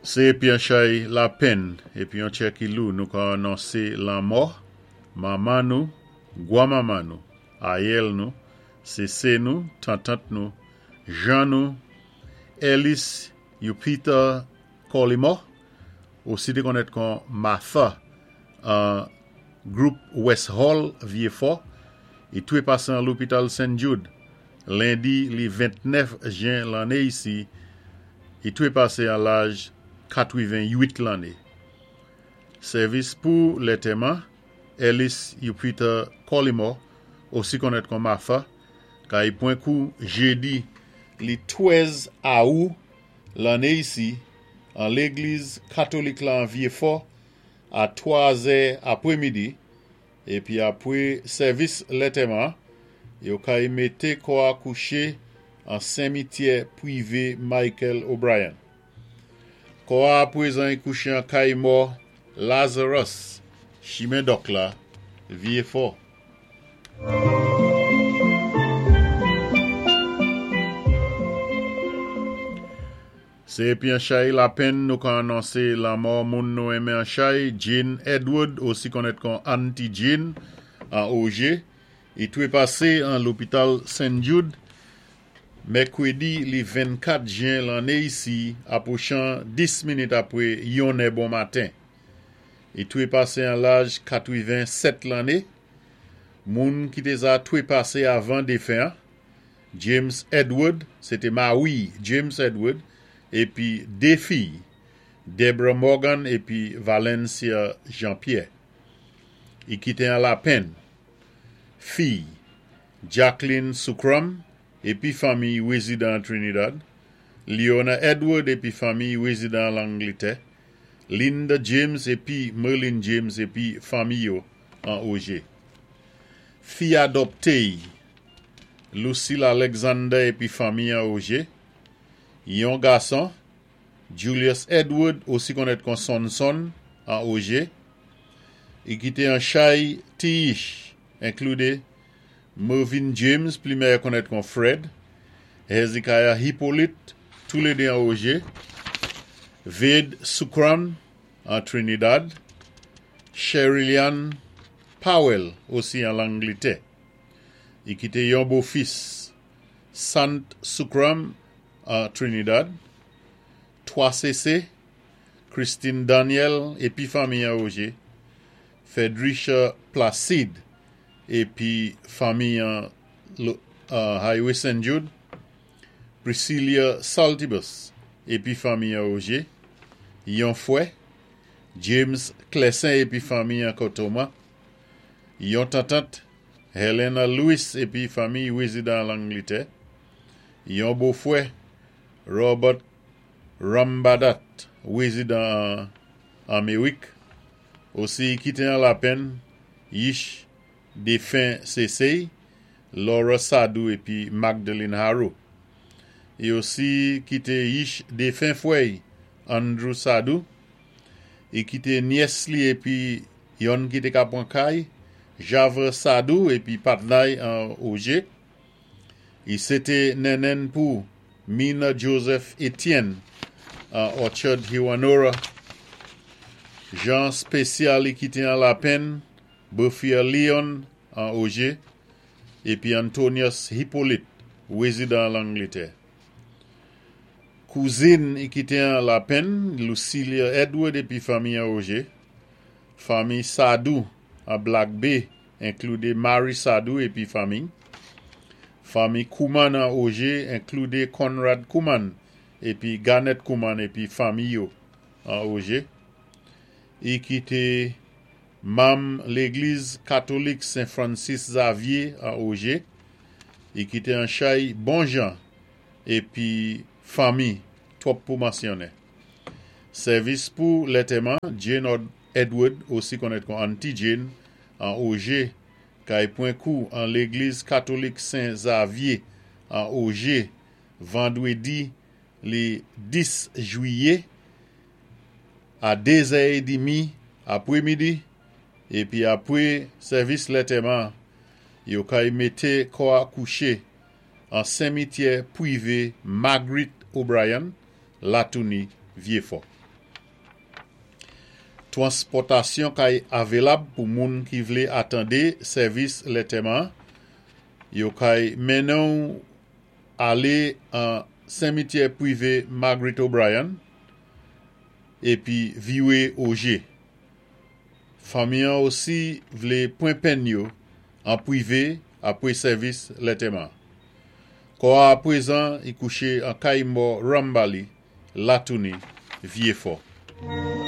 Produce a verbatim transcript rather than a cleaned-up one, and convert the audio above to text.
Sé épi an chay lapenn épi yon tjè ki lou nou ka anonsé lanmò manman nou, gwanmanman nou, ayèl nou, séséi nou, tantant nou, jan nou, Ellis Yupita Collymore, osi té konnèt kon Martha an Group West Hall, Vieux-Fort, i twé pasé an lopital Saint Jude, lendi li ventnèf jen lanné isi, i twé pasé an laj katwiven-uit lanné. Sèvis pou lantèman, Ellis Yupita Collymore, osi konnèt kon Martha, kay pwan kou jédi li twèz awou lanné isi, an légliz katolik la an Vieux-Fort, a twa zè apwémidi, épi apwé sèvis lantèman, yo kay mété kò a kouché an simityè pwivé Michael O'Brien. Kò a apwézan i kouché an kay mò Lazarus, chimen Dòk la, Vieux-Fort. Sé épi an chay lapenn nou ka anonsé lanmò moun nou enmen an chay, Jane Edward, osi konnèt kon Auntie Jane, an Augier, i twé pasé an lopital Saint Jude, mèkwédi li vennkat jen lanné isi, apwochan dis minit apwé yon è bon maten. I twé pasé an laj katwiven-sèt lanné. Moun ki té za twé pasé avan défen an, James Edward, sé té mari James Edward, épi dé fiy, Deborah Morgan épi Valencia Jean-Pierre. I kité an lapenn, fiy, Jacqueline Soukram, épi fanmi wézidan Trinidad, Leona Edward épi fanmi wézidan Langlitè, Linda James épi Merlin James épi fanmi yo an Augier. Fi adopté, Lucille Alexander épi fanmi an Augier, yon gason, Julius Edward, osi konnèt kon Sonson, an Augier, i kité an chay ti-yich, enkloudé Mervyn James, pli mèyè konnèt kon Fred, Hezekiah Hippolyte, toulédé an Augier, Vade Soukram, an Trinidad, Sherryllian Powell, osi an Langlitè. I kité yon bofis, Sant Soukram, an Trinidad, twa séséi, Christine Daniel, épi fanmi an Augier, Fredricia Placide, épi fanmi an Highway Saint Jude, Priscilla Saltibus, épi fanmi an Augier, yon fwè, James Clessin épi fanmi an Kotoma, yon tantant, Helena Lewis épi fanmi wézidan Langlitè, yon bofwè, Robert Rambadat, wézidan Améwik, osi kité an lapenn, yich défen séséi, Laura Sadou épi Magdalene Harrow. I osi kité yich défen fwè'y, Andrew Sadou, i kité nyès li épi yonn ki té ka pwan kay, Javre Sadou épi patna'y an Augier. I sé té nennenn pou Mina Joseph Etienne an Orchard Hewanorra. Jan spésyal i kité an lapenn, Buffia Leon an Augier, épi Antonius Hippolyte, wézidan Langlitè. Kouzin i kité an lapenn, Lucilia Edward épi fanmi an Augier. Fanmi Sadou an Black Bay, enkloudé Mary Sadou épi fanmi. Fanmi Kouman an Augier, enkloudé Conrad Kouman épi Garnet Kouman épi fanmi yo an Augier. I kité manm légliz katolik Saint Francis Xavier an Augier. I kité an chay bon jan épi fanmi twòp pou mansyonnen. Sèvis pou lantèman, Jane Edward, osi konnèt kon Auntie Jane, an Augier, kay pwan kou an légliz katolik Saint Xavier an Augier, vandwédi li dis jwiyé a dé zè édmi apwémidi, épi apwé sèvis lantèman, yo kay mété kò a kouché an simityè pwivé Marguerite O'Brien, Latouni, Vieux-Fort. Twanspòtasyon kay avelab pou moun ki vlé atandé sèvis lantèman. Yo kay mennen-w alé an simityè pwivé Margaret O'Brien épi viwé Augier. Fanmi-an osi vlé pwan penn yo an pwivé apwé sèvis lantèman. Kò-a apwézan i kouché an kay mò Rambali, Latouni, Vyéfò.